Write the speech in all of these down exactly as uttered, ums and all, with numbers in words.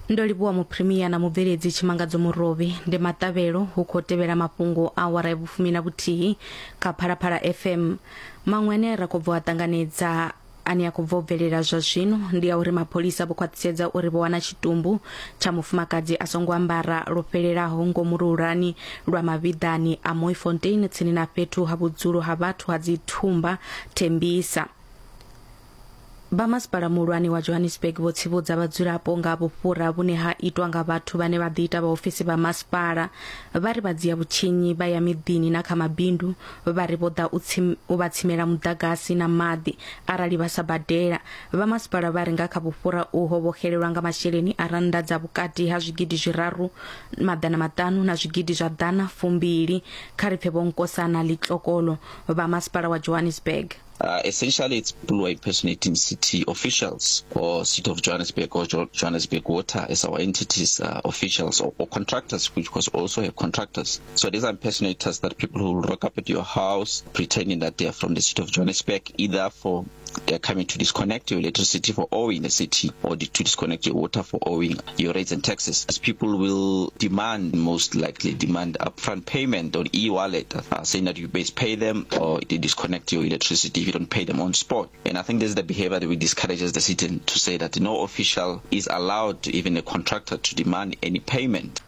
Ndo livhuwa muphrimia na mubveledzi Tshimangadzo Murovhi. Ndi maṱavhelo hu khou tevhela mafhungo a awara ya vhufumi na vhuthihi kha Phalaphala F M. Maṅwe ane ra khou bva a ṱanganedza, ane a khou bva u bvelela zwa zwino, ndi ya uri mapholisa vho khwaṱhisedza uri vho wana tshitumbu tsha mufumakadzi a songo ambara lwo fhelelaho ngomu lurani lwa mavhiḓani a Mooifontein, tsini na fhethu ha vhudzulo ha vhathu ha dzithumba Tembisa. Vha masipala muhulwane wa Johannesburg vho tsivhudza vhadzulapo nga vhufhura vhune ha itwa nga vhathu vhane vha ḓiita vhaofisi vha masipala. Vha ri vha dzia vhutshinyi vha ya miḓini na kha mabindu, vha ri vho ḓa u vha tsimela muḓagasi na maḓi arali vha sa badela. Vha masipala vha ri nga kha vhufhura uho vho xelelwa nga masheleni a rannda dza vhukati ha zwigidi zwiraru maḓana maṱanu na zwigidi zwa ḓana fumbili. Kha ri pfe Vho Nkosana Letlhokolo vha masipala wa Johannesburg. Uh, essentially, it's people who are impersonating city officials or City of Johannesburg or jo- Johannesburg Water as our entities, uh, officials or, or contractors, which was also have contractors. So these are impersonators that people who will rock up at your house pretending that they are from the City of Johannesburg, either for they're coming to disconnect your electricity for owing the city or to disconnect your water for owing your rates and taxes. As people will demand, most likely demand upfront payment on e-wallet, uh, saying that you best pay them or they disconnect your electricity if you don't pay them on spot. And I think this is the behavior that we discourage as the city to say that no official is allowed, even a contractor, to demand any payment.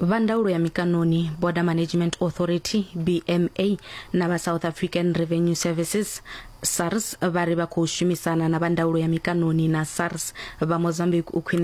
Vha ndaulo ya mikanoni, Border Management Authority, B M A, na vha South African Revenue Services, SARS, vha ri vha khou shumisana na vha ndaulo ya mikanoni na SARS vha Mozambique u khwinisa